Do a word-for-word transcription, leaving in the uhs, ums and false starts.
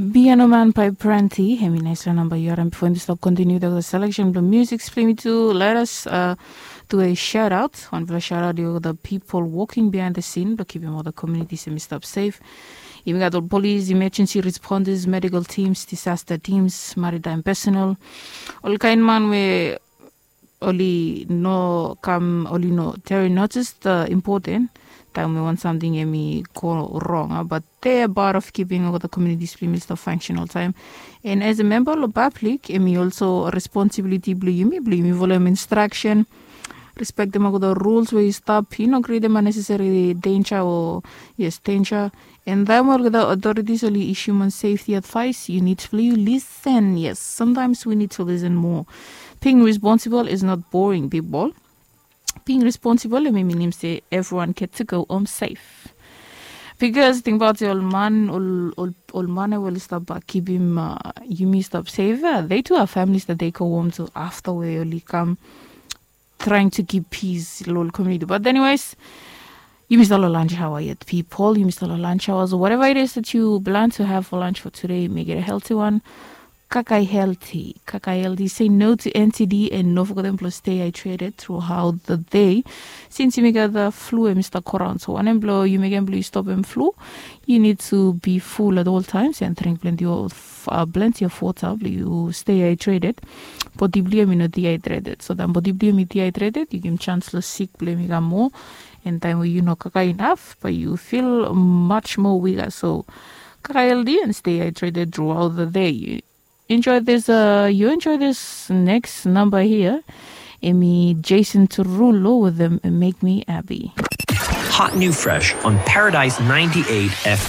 Biano man bai pranti hemi naispela namba yu harim bifo yumi stap kontiniu the selection bilong music splimi tu. Let us uh, do a shout out. Wanpela shout out yu the people working behind the scene bilong kipim ol the communities hemi stap safe. Yumi gat ol police, emergency responders, medical teams, disaster teams, maritime personnel, ol kain man we oli no kam oli no teri notis the important taim we wan samting em i go rong, but they are part of keeping all the communities bilong yumi stop function all time. And as a member of public em i also responsibility bilong yumi bilong yumi follow instruction, respect them all the rules where you stop, you know, create them unnecessary danger or yes danger. And then all the authorities only issue on safety advice you need to you listen. Yes, sometimes we need to listen more. Being responsible is not boring, people. Being responsible em i minim se everyone get to go home safe. Because think about ol man ol ol ol man we oli stap uh, kipim uh, yumi stap safe uh, they too have families that they go home to after we oli kam trying to keep peace long ol community. But anyways, yumi start long lunch hour yet, people. Yumi start long lunch hour, so whatever it is that you plan to have for lunch for today, make it a healthy one. Kakai healthy, kakai healthy. Say no to N C D and no forget them plus stay hydrated throughout the day. Since you make the flu and Mister Koran, so one and blow you make and blow you stop and flu. You need to be full at all times and drink plenty of uh, plenty of water. You stay hydrated. Body blame you not dehydrated. So then body blame you dehydrated, you give chance to sick blame you got more. And time where you know kaka enough, but you feel much more weaker. So kaka healthy and stay hydrated throughout the day. You enjoy this uh you enjoy this next number here. Emi Jason Turulo with them make me happy. Hot new fresh on Paradise ninety-eight F M.